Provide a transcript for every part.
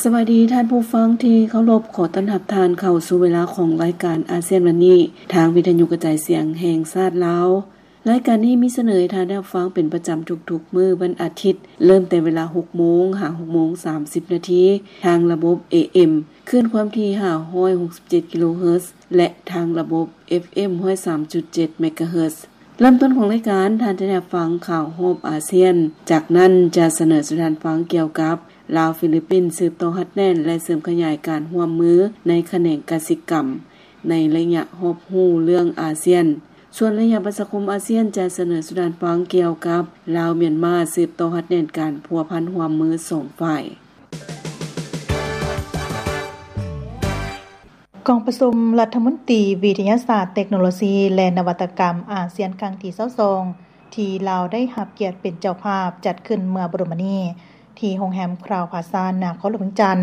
ສະບາຍດີທ່ານຜູ້ຟັງທີ່ເຄົາລົບ, ຂໍຕ້ອນຮັບທ່ານເຂົ້າສູ່ເວລາຂອງລາຍການອາຊຽນວັນນີ້ ທາງວິທະຍຸກະຈາຍສຽງແຫ່ງຊາດລາວ. ລາຍການນີ້ມີສະເໜີໃຫ້ທ່ານໄດ້ຮັບຟັງເປັນປະຈຳທຸກໆມື້ວັນອາທິດ, ເລີ່ມແຕ່ເວລາຫົກໂມງຫາຫົກໂມງສາມສິບນາທີ ທາງລະບົບ ເອເອັມ ຄື້ນຄວາມຖີ່ຫ້າຮ້ອຍຫົກສິບເຈັດກິໂລເຮີດ ແລະ ທາງລະບົບ ເອັຟເອັມ ຮ້ອຍສາມຈຸດເຈັດເມກາເຮີດ. ເລີ່ມຕົ້ນຂອງລາຍການ, ທ່ານຈະໄດ້ຮັບຟັງຂ່າວຮອບອາຊຽນ. ຈາກນັ້ນຈະສະເໜີສູ່ທ່ານຟັງກ່ຽວກັບ ລາວ-ຟີລິບປິນ ສືບຕໍ່ຮັດແໜ້ນ ແລະ ເສີມຂະຫຍາຍການຮ່ວມມືໃນຂະແໜງກະສິກຳ ໃນໄລຍະຮອບຮູ້ເລື່ອງອາຊຽນ. ສ່ວນໄລຍະປະຊາຄົມອາຊຽນ ຈະສະເໜີສູ່ທ່ານຟັງກ່ຽວກັບ ລາວ-ມຽນມາ ສືບຕໍ່ຮັດແໜ້ນການພົວພັນຮ່ວມມືສອງຝ່າຍ. ກອງປະຊຸມລັດຖະມົນຕີວິທະຍາສາດ, ເຕັກໂນໂລຊີ ແລະ ນະວັດຕະກຳອາຊຽນຄັ້ງທີຊາວສອງ ທີ່ລາວໄດ້ຮັບກຽດເປັນເຈົ້າພາບ ຈັດຂຶ້ນເມື່ອບໍ່ດົນມານີ້ ທີ່ໂຮງແຮມຄຣາວພາຊາ ນະຄອນຫຼວງວຽງຈັນ,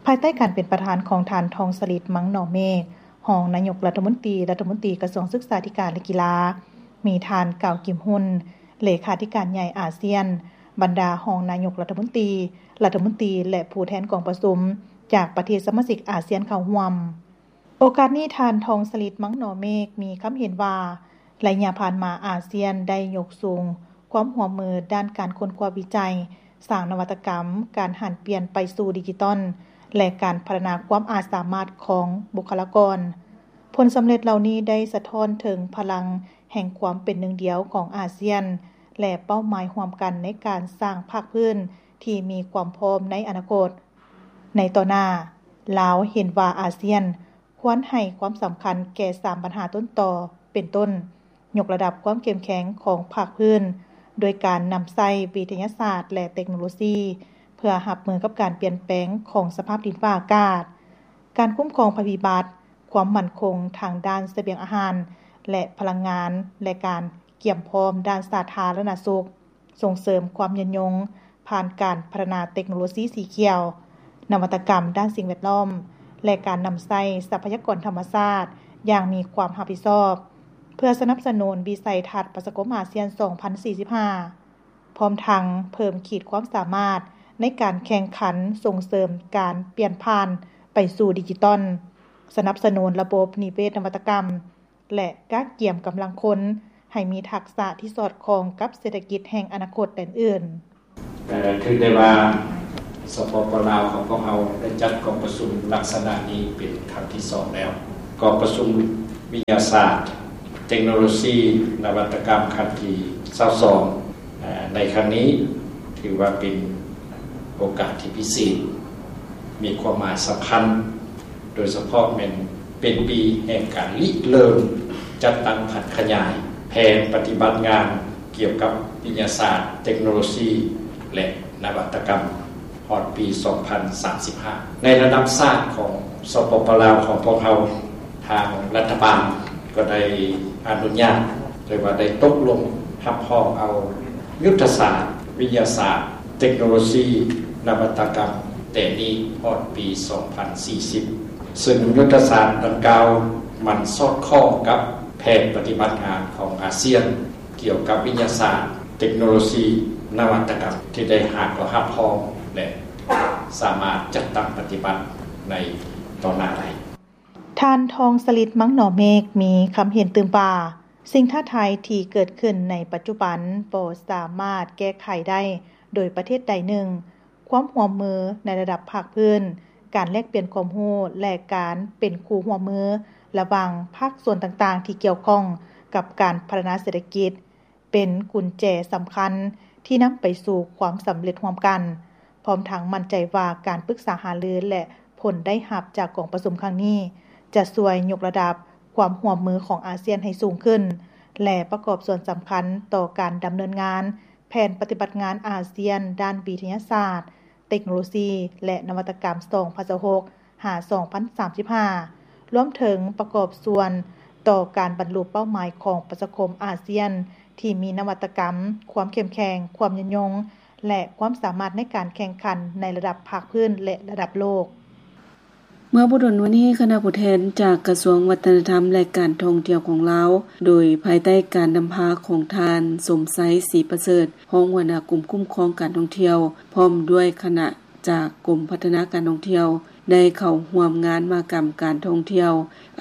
ພາຍໃຕ້ການເປັນປະທານຂອງທ່ານ ທອງສະລິດ ມັງໜໍເມກ ຮອງນາຍົກລັດຖະມົນຕີ, ລັດຖະມົນຕີກະຊວງສຶກສາທິການ ແລະ ກິລາ, ມີທ່ານ ກາວ ກິມຮຸນ ເລຂາທິການໃຫຍ່ອາຊຽນ, ບັນດາຮອງນາຍົກລັດຖະມົນຕີ, ລັດຖະມົນຕີ ແລະ ຜູ້ແທນກອງປະຊຸມຈາກປະເທດສະມາຊິກອາຊຽນເຂົ້າຮ່ວມ. ໂອກາດນີ້ ທ່ານ ທອງສະລິດ ມັງໜໍເມກ ມີຄຳເຫັນວ່າ ໄລຍະຜ່ານມາອາຊຽນໄດ້ຍົກສູງຄວາມຮ່ວມມືດ້ານການຄົ້ນຄວ້າວິໄຈ, ສ້າງນະວັດຕະກຳ, ການຫັນປ່ຽນໄປສູ່ດິຈິຕອນ ແລະ ການພັດທະນາຄວາມອາດສາມາດຂອງບຸກຄະລາກອນ. ຜົນສຳເລັດເຫຼົ່ານີ້ໄດ້ສະທ້ອນເຖິງພະລັງແຫ່ງຄວາມເປັນໜຶ່ງດຽວຂອງອາຊຽນ ແລະ ເປົ້າໝາຍຮ່ວມກັນໃນການສ້າງພາກພື້ນທີ່ມີຄວາມພ້ອມໃນອະນາຄົດ. ໃນຕໍ່ໜ້າ, ລາວເຫັນວ່າອາຊຽນຄວນໃຫ້ຄວາມສຳຄັນແກ່ສາມບັນຫາຕົ້ນຕໍ ເປັນຕົ້ນ ຍົກລະດັບຄວາມເຂັ້ມແຂງຂອງພາກພື້ນ ໂດຍການນຳໃຊ້ວິທະຍາສາດ ແລະ ເຕັກໂນໂລຊີ ເພື່ອຮັບມືກັບການປ່ຽນແປງຂອງສະພາບດິນຟ້າອາກາດ, ການຄຸ້ມຄອງໄພພິບັດ, ຄວາມໝັ້ນຄົງທາງດ້ານສະບຽງອາຫານ ແລະ ພະລັງງານ ແລະ ການກຽມພ້ອມດ້ານສາທາລະນະສຸກ, ສົ່ງເສີມຄວາມຍືນຍົງ ຜ່ານການພັດທະນາເຕັກໂນໂລຊີສີຂຽວ, ນະວັດຕະກຳດ້ານສິ່ງແວດລ້ອມ ແລະ ການນຳໃຊ້ຊັບພະຍາກອນທຳມະຊາດຢ່າງມີຄວາມຮັບຜິດຊອບ, ເພື່ອສະໜັບສະໜູນວິໄສທັດປະຊາຄົມອາຊຽນສອງພັນສີ່ສິບຫ້າ, ພ້ອມທັງເພີ່ມຂີດຄວາມສາມາດໃນການແຂ່ງຂັນສົ່ງເສີມການປ່ຽນຜ່ານໄປສູ່ດິຈິຕອນ, ສະໜັບສະໜູນລະບົບນິເວດນະວັດຕະກຳ ແລະ ກະກຽມກຳລັງຄົນໃຫ້ມີທັກສະທີ່ສອດຄ່ອງກັບເສດຖະກິດແຫ່ງອະນາຄົດແດນອື່ນ. ເອີ ຖືໄດ້ວ່າ ສປປ ລາວ ຂອງພວກເຮົາໄດ້ຈັດກອງປະຊຸມລັກສະນະນີ້ເປັນຄັ້ງທີສອງແລ້ວ. ກອງປະຊຸມວິທະຍາສາດ, ເຕັກໂນໂລຊີ, ນະວັດຕະກຳຄັ້ງທີຊາວສອງ ເອີ ໃນຄັ້ງນີ້ ຖືວ່າເປັນໂອກາດທີ່ພິເສດ, ມີຄວາມໝາຍສຳຄັນ ໂດຍສະເພາະແມ່ນເປັນປີແຫ່ງການລິເລີ່ມຈັດຕັ້ງຜັນຂະຫຍາຍແຜນປະຕິບັດງານກ່ຽວກັບວິທະຍາສາດ, ເຕັກໂນໂລຊີ ແລະ ນະວັດຕະກຳ ຮອດປີສອງພັນສາມສິບຫ້າ. ໃນລະດັບຊາດຂອງ ສປປ ລາວ ຂອງພວກເຮົາ, ທາງລັດຖະບານກໍໄດ້ອະນຸຍາດ ຫຼືວ່າໄດ້ຕົກລົງຮັບຮອງເອົາຍຸດທະສາດວິທະຍາສາດ, ເຕັກໂນໂລຊີ, ນະວັດຕະກຳ ແຕ່ນີ້ຮອດປີສອງພັນສີ່ສິບ ເຊິ່ງຍຸດທະສາດດັ່ງກ່າວມັນສອດຄ່ອງກັບແຜນປະຕິບັດງານຂອງອາຊຽນ ກ່ຽວກັບວິທະຍາສາດ, ເຕັກໂນໂລຊີ, ນະວັດຕະກຳ ທີ່ໄດ້ຮັບ ກໍຮັບຮອງ ແລະ ສາມາດຈັດຕັ້ງປະຕິບັດໃນຕໍ່ໜ້າໄດ້. ທ່ານ ທອງສະລິດ ມັງໜໍເມກ ມີຄຳເຫັນຕື່ມວ່າ ສິ່ງທ້າທາຍທີ່ເກີດຂຶ້ນໃນປັດຈຸບັນບໍ່ສາມາດແກ້ໄຂໄດ້ໂດຍປະເທດໃດໜຶ່ງ. ຄວາມຮ່ວມມືໃນລະດັບພາກພື້ນ, ການແລກປ່ຽນຄວາມຮູ້ ແລະ ການເປັນຄູ່ຮ່ວມມືລະຫວ່າງພາກສ່ວນຕ່າງໆທີ່ກ່ຽວຂ້ອງກັບການພັດທະນາເສດຖະກິດ ເປັນກຸນແຈສຳຄັນທີ່ນຳໄປສູ່ຄວາມສຳເລັດຮ່ວມກັນ, ພ້ອມທັງໝັ້ນໃຈວ່າການປຶກສາຫາລື ແລະ ຜົນໄດ້ຮັບຈາກກອງປະຊຸມຄັ້ງນີ້ ຈະຊ່ວຍຍົກລະດັບຄວາມຮ່ວມມືຂອງອາຊຽນໃຫ້ສູງຂຶ້ນ ແລະ ປະກອບສ່ວນສຳຄັນຕໍ່ການດຳເນີນງານແຜນປະຕິບັດງານອາຊຽນດ້ານວິທະຍາສາດ, ເຕັກໂນໂລຊີ ແລະ ນະວັດຕະກຳ ສອງພັນຊາວຫົກ ຫາ ສອງພັນສາມສິບຫ້າ ລວມເຖິງປະກອບສ່ວນຕໍ່ການບັນລຸເປົ້າໝາຍຂອງປະຊາຄົມອາຊຽນ ທີ່ມີນະວັດຕະກຳ, ຄວາມເຂັ້ມແຂງ, ຄວາມຍືນຍົງ ແລະ ຄວາມສາມາດໃນການແຂ່ງຂັນໃນລະດັບພາກພື້ນ ແລະ ລະດັບໂລກ. ເມື່ອບໍ່ດົນມານີ້, ຄະນະຜູ້ແທນຈາກກະຊວງວັດທະນະທຳ ແລະ ການທ່ອງທ່ຽວຂອງລາວ, ໂດຍພາຍໃຕ້ການນຳພາຂອງທ່ານ ສົມໄຊ ສີປະເສີດ, ຮອງຫົວໜ້າກົມຄຸ້ມຄອງການທ່ອງທ່ຽວ, ພ້ອມດ້ວຍຄະນະ ຈາກກົມພັດທະນາການທ່ອງທ່ຽວ ໄດ້ເຂົ້າຮ່ວມງານມະຫະກຳການທ່ອງທ່ຽວ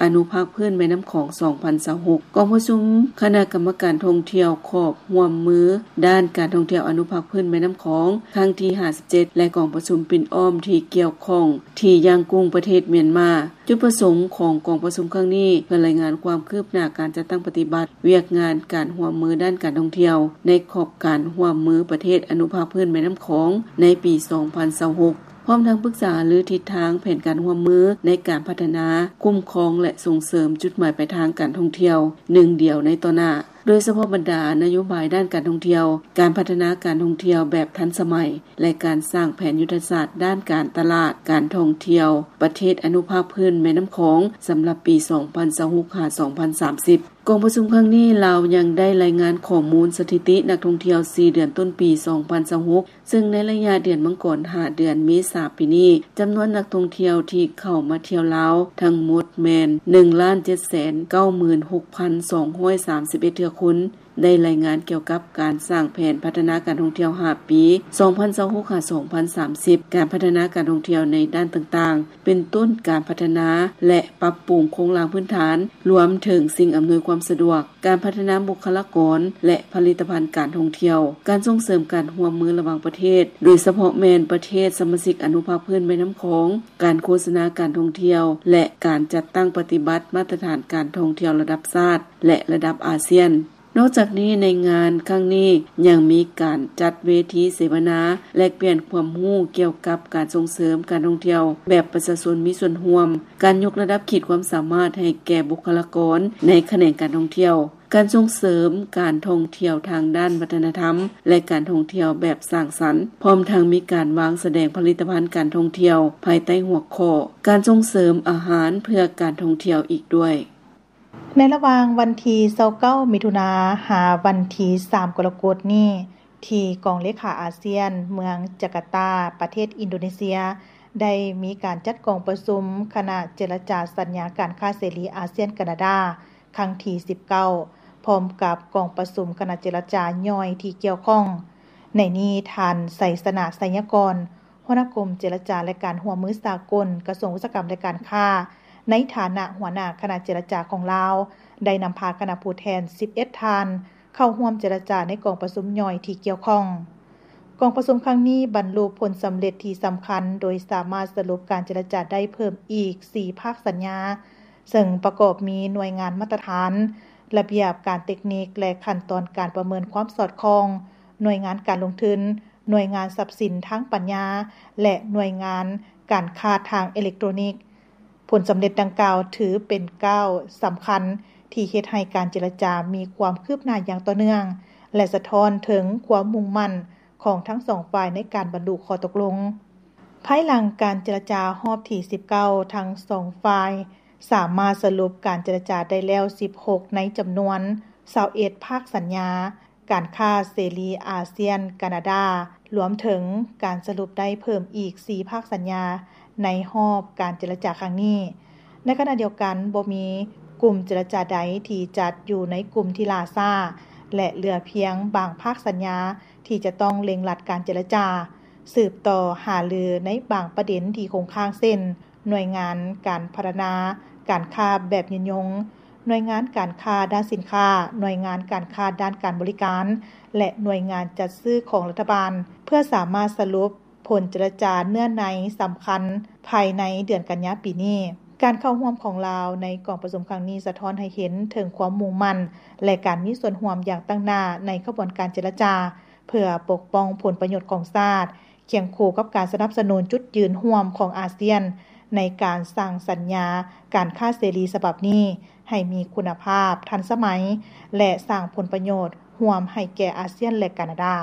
ອະນຸພາກພື້ນແມ່ນ້ຳຂອງ ສອງພັນຊາວຫົກ. ກອງປະຊຸມຄະນະກຳມະການທ່ອງທ່ຽວຂອບຮ່ວມມືດ້ານການທ່ອງທ່ຽວອະນຸພາກພື້ນແມ່ນ້ຳຂອງ ຄັ້ງທີຫ້າສິບເຈັດ ແລະ ກອງປະຊຸມປິ່ນອ້ອມທີ່ກ່ຽວຂ້ອງທີ່ຢ້າງກຸ້ງ ປະເທດມຽນມາ. ຈຸດປະສົງຂອງກອງປະຊຸມຄັ້ງນີ້ ເພື່ອລາຍງານຄວາມຄືບໜ້າການຈັດຕັ້ງປະຕິບັດວຽກງານການຮ່ວມມືດ້ານການທ່ອງທ່ຽວ ໃນຂອບການຮ່ວມມືປະເທດອະນຸພາກພື້ນແມ່ນ້ຳຂອງໃນປີສອງພັນຊາວຫົກ ພ້ອມທັງປຶກສາຫາລືທິດທາງແຜນການຮ່ວມມືໃນການພັດທະນາ, ຄຸ້ມຄອງ ແລະ ສົ່ງເສີມຈຸດໝາຍປາຍທາງການທ່ອງທ່ຽວໜຶ່ງດຽວໃນຕໍ່ໜ້າ, ໂດຍສະເພາະບັນດານະໂຍບາຍດ້ານການທ່ອງທ່ຽວ, ການພັດທະນາການທ່ອງທ່ຽວແບບທັນສະໄໝ ແລະ ການສ້າງແຜນຍຸດທະສາດດ້ານການຕະຫຼາດການທ່ອງທ່ຽວປະເທດອະນຸພາກພື້ນແມ່ນ້ຳຂອງ ສຳລັບປີສອງພັນຊາວຫົກ ຫາ ສອງພັນສາມສິບ. ກອງປະຊຸມຄັ້ງນີ້ ລາວຍັງໄດ້ລາຍງານຂໍ້ມູນສະຖິຕິນັກທ່ອງທ່ຽວສີ່ເດືອນຕົ້ນປີສອງພັນຊາວຫົກ ເຊິ່ງໃນໄລຍະເດືອນມັງກອນຫາເດືອນເມສາປີນີ້ ຈຳນວນນັກທ່ອງທ່ຽວທີ່ເຂົ້າມາທ່ຽວລາວທັງໝົດແມ່ນ ໜຶ່ງລ້ານເຈັດແສນເກົ້າໝື່ນຫົກພັນສອງຮ້ອຍສາມສິບເອັດ ເທື່ອຄົນ. ໄດ້ລາຍງານກ່ຽວກັບການສ້າງແຜນພັດທະນາການທ່ອງທ່ຽວຫ້າປີ ສອງພັນຊາວຫົກ ຫາ ສອງພັນສາມສິບ, ການພັດທະນາການທ່ອງທ່ຽວໃນດ້ານຕ່າງໆ ເປັນຕົ້ນການພັດທະນາ ແລະ ປັບປຸງໂຄງລ່າງພື້ນຖານ, ລວມເຖິງສິ່ງອຳນວຍຄວາມສະດວກ, ການພັດທະນາບຸກຄະລາກອນ ແລະ ຜະລິດຕະພັນການທ່ອງທ່ຽວ, ການສົ່ງເສີມການຮ່ວມມືລະຫວ່າງປະເທດ, ໂດຍສະເພາະແມ່ນປະເທດສະມາຊິກອະນຸພາກພື້ນແມ່ນ້ຳຂອງ, ການໂຄສະນາການທ່ອງທ່ຽວ ແລະ ການຈັດຕັ້ງປະຕິບັດມາດຕະຖານການທ່ອງທ່ຽວລະດັບຊາດ ແລະ ລະດັບອາຊຽນ. ນອກຈາກນີ້, ໃນງານຄັ້ງນີ້ຍັງມີການຈັດເວທີເສວະນາ ແລກປ່ຽນຄວາມຮູ້ກ່ຽວກັບການສົ່ງເສີມການທ່ອງທ່ຽວແບບປະຊາຊົນມີສ່ວນຮ່ວມ, ການຍົກລະດັບຂີດຄວາມສາມາດໃຫ້ແກ່ບຸກຄະລາກອນໃນຂະແໜງການທ່ອງທ່ຽວ, ການສົ່ງເສີມການທ່ອງທ່ຽວທາງດ້ານວັດທະນະທຳ ແລະ ການທ່ອງທ່ຽວແບບສ້າງສັນ, ພ້ອມທັງມີການວາງສະແດງຜະລິດຕະພັນການທ່ອງທ່ຽວ ພາຍໃຕ້ຫົວຂໍ້ ການສົ່ງເສີມອາຫານເພື່ອການທ່ອງທ່ຽວ ອີກດ້ວຍ. ໃນລະຫວ່າງວັນທີຊາວເກົ້າ ມິຖຸນາ ຫາວັນທີສາມ ກໍລະກົດນີ້, ທີ່ກອງເລຂາອາຊຽນ ເມືອງຈາກາຕາ ປະເທດອິນໂດເນເຊຍ ໄດ້ມີການຈັດກອງປະຊຸມຄະນະເຈລະຈາສັນຍາການຄ້າເສລີອາຊຽນ-ການາດາ ຄັ້ງທີສິບເກົ້າ ພ້ອມກັບກອງປະຊຸມຄະນະເຈລະຈາຍ່ອຍທີ່ກ່ຽວຂ້ອງ. ໃນນີ້, ທ່ານ ໄຊຊະນະ ໄຊຍະກອນ ຫົວໜ້າກົມເຈລະຈາ ແລະ ການຮ່ວມມືສາກົນ ກະຊວງອຸດສາຫະກຳ ແລະ ການຄ້າ ໃນຖານະຫົວໜ້າຄະນະເຈລະຈາຂອງລາວ ໄດ້ນຳພາຄະນະຜູ້ແທນສິບເອັດທ່ານ ເຂົ້າຮ່ວມເຈລະຈາໃນກອງປະຊຸມຍ່ອຍທີ່ກ່ຽວຂ້ອງ. ກອງປະຊຸມຄັ້ງນີ້ບັນລຸຜົນສຳເລັດທີ່ສຳຄັນ ໂດຍສາມາດສະຫຼຸບການເຈລະຈາໄດ້ເພີ່ມອີກສີ່ພາກສັນຍາ, ເຊິ່ງປະກອບມີໜ່ວຍງານມາດຕະຖານ, ລະບຽບການເຕັກນິກ ແລະ ຂັ້ນຕອນການປະເມີນຄວາມສອດຄ່ອງ, ໜ່ວຍງານການລົງທຶນ, ໜ່ວຍງານຊັບສິນທາງປັນຍາ ແລະ ໜ່ວຍງານການຄ້າທາງເອເລັກໂຕຣນິກ. ຜົນສຳເລັດດັ່ງກ່າວຖືເປັນກ້າວສຳຄັນທີ່ເຮັດໃຫ້ການເຈລະຈາມີຄວາມຄືບໜ້າຢ່າງຕໍ່ເນື່ອງ ແລະ ສະທ້ອນເຖິງຄວາມມຸ່ງໝັ້ນຂອງທັງສອງຝ່າຍໃນການບັນລຸຂໍ້ຕົກລົງ. ພາຍຫຼັງການເຈລະຈາຮອບທີສິບເກົ້າ ທັງສອງຝ່າຍສາມາດສະຫຼຸບການເຈລະຈາໄດ້ແລ້ວສິບຫົກໃນຈຳນວນຊາວເອັດພາກສັນຍາ ການຄ້າເສລີອາຊຽນ-ການາດາ, ລວມເຖິງການສະຫຼຸບໄດ້ເພີ່ມອີກສີ່ພາກສັນຍາໃນຮອບການເຈລະຈາຄັ້ງນີ້. ໃນຂະນະດຽວກັນ, ບໍ່ມີກຸ່ມເຈລະຈາໃດທີ່ຈັດຢູ່ໃນກຸ່ມທີ່ຫຼ້າຊ້າ ແລະ ເຫຼືອພຽງບາງພາກສັນຍາທີ່ຈະຕ້ອງເລັ່ງລັດການເຈລະຈາ, ສືບຕໍ່ຫາລືໃນບາງປະເດັນທີ່ຄົງຄ້າງ ເຊັ່ນ ໜ່ວຍງານການພັດທະນາການຄ້າແບບຍືນຍົງ, ໜ່ວຍງານການຄ້າດ້ານສິນຄ້າ, ໜ່ວຍງານການຄ້າດ້ານການບໍລິການ ແລະ ໜ່ວຍງານຈັດຊື້ຂອງລັດຖະບານ ເພື່ອສາມາດສະຫຼຸບຜົນເຈລະຈາເນື້ອໃນສຳຄັນພາຍໃນເດືອນກັນຍາປີນີ້. ການເຂົ້າຮ່ວມຂອງລາວໃນກອງປະຊຸມຄັ້ງນີ້ ສະທ້ອນໃຫ້ເຫັນເຖິງຄວາມມຸ່ງໝັ້ນ ແລະ ການມີສ່ວນຮ່ວມຢ່າງຕັ້ງໜ້າໃນຂະບວນການເຈລະຈາ ເພື່ອປົກປ້ອງຜົນປະໂຫຍດຂອງຊາດ, ຄຽງຄູ່ກັບການສະໜັບສະໜູນຈຸດຢືນຮ່ວມຂອງອາຊຽນ ໃນການສ້າງສັນຍາການຄ້າເສລີສະບັບນີ້ໃຫ້ມີຄຸນນະພາບ, ທັນສະໄໝ ແລະ ສ້າງຜົນປະໂຫຍດຮ່ວມໃຫ້ແກ່ອາຊຽນ ແລະ ການາດາ.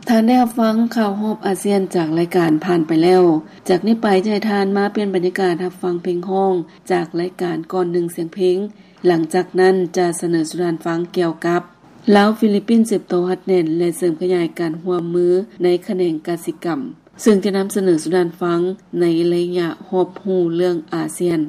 ທ່ານໄດ້ຮັບຟັງຂ່າວຮອບອາຊຽນຈາກລາຍການຜ່ານໄປແລ້ວ. ຈາກນີ້ໄປຈະໃຫ້ທ່ານມາປ່ຽນບັນຍາກາດຮັບຟັງເພງຮ້ອງຈາກລາຍການກ່ອນໜຶ່ງສຽງເພງ. ຫຼັງຈາກນັ້ນຈະສະເໜີສູ່ທ່ານຟັງກ່ຽວກັບ ລາວ-ຟີລິບປິນສືບຕໍ່ຮັດແໜ້ນ ແລະ ເສີມຂະຫຍາຍການຮ່ວມມືໃນຂະແໜງກະສິກຳ, ເຊິ່ງຈະນຳສະເໜີສູ່ທ່ານຟັງໃນໄລຍະຮອບຮູ້ເລື່ອງອາຊຽນ.